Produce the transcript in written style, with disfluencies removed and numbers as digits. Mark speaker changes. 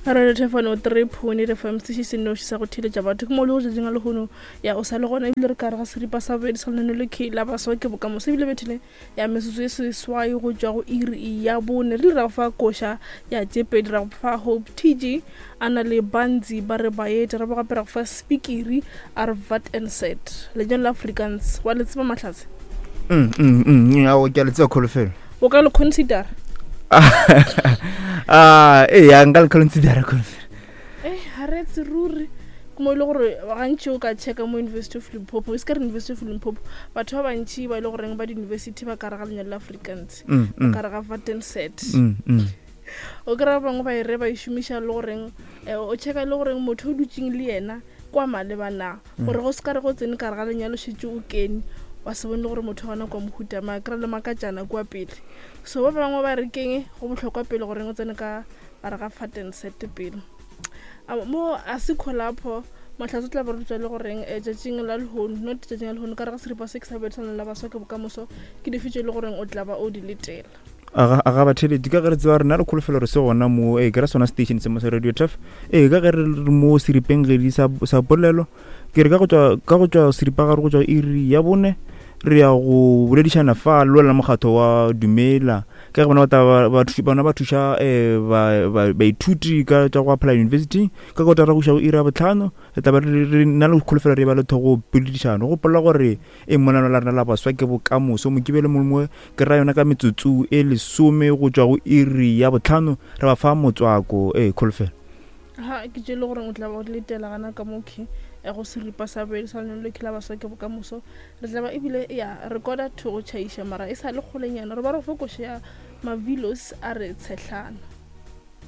Speaker 1: Radio Thefano 3.8 FM sešo se nnoši sa go theeletša batho ke mo le go tšatšing la lehono ya o sa le gona ebile re ka re ga seripa sa bobedi sa lenaneo le ke la baswa ke bokamoso ebile bethile ya metsotso e seswai go tšwa go iri ya bone re ile ra go fa koša ya tše pedi ra go fa Hope TG a na le Banzi ba re baeta ra bo gape ra go fa Spikiri a re vat and set lenyalo la Afrikaans wa le tseba Mahlatse?
Speaker 2: Mm, mm, mm, ao ke a le tseba kholofelo.
Speaker 1: O ka le considera?
Speaker 2: Ah, ee, ya nka le considera kholofelo.
Speaker 1: Eh, ga re etse ruri ke mo e le gore gantši o ka checka mo University of Limpopo, e se ka re University of Limpopo, batho ba bantši ba e le goreng ba di-university ba ka re ga lenyalo la Afrikaans, ba ka re ga Vatenset. O kry-a ba bangwe ba e re ba e šomiša le goreng, eh, o checka le goreng motho o dutseng le yena kwa maleba na. Gore go se ka re go tsene ka re ga lenyalo šetše o kene wa se bone le gore motho gona kwa mohuta ma kry le makatšana kua pele. So ba bangwe ba re keng go bohlokwa pele goreng o tsene ka gare ga faten set pele. Mo a se kholapho Mahlatse o tla ba rutwa le goreng eh, tšatšing la lehono, not tšatšing la lehono, ka re ga seripa se ke sa bobedi sa la baswa ke bokamoso, ke dife tše e le goreng o tla ba o di letela.
Speaker 2: Aga, aga batheeletši, ka ge re tseba rena re kholofelo re se gona mo, ee, ke ra sona station se mo sa Radio Turf, ee, ka ge re re mo seripeng gedi sa, sa polelo, ke re ka go tšwa, ka go tšwa seripagare go tšwa iri ya bone, re ya go boledišana fa le lona mokgatho wa Dumela, ka ge bona ba tla ba, ba, bona ba thuša um ba, ba, baithuti ka tša go apply university, ka kotara go iša go iri ya bohlano, re tla ba re, re na le kholofelo re ba le thogo poledišano, gopola gore E Monano la rena la baswa ke bokamoso. Mokibelo mongwe mongwe ke ra yona ka metsotso e lesome go tšwa go iri ya bohlano re ba fa motswako. Ee, kholofelo.
Speaker 1: Ha ke tše le gore o tla ba o letela gana ka mo khe ya go seripa sa bobedi sa lenaneo le la baswa ke bokamoso. Re tla ba ebile ya rekoda to go tšhaiša mara e sa le kgolenyana re ba re go fa koša ya Mavilos a re tshehlana.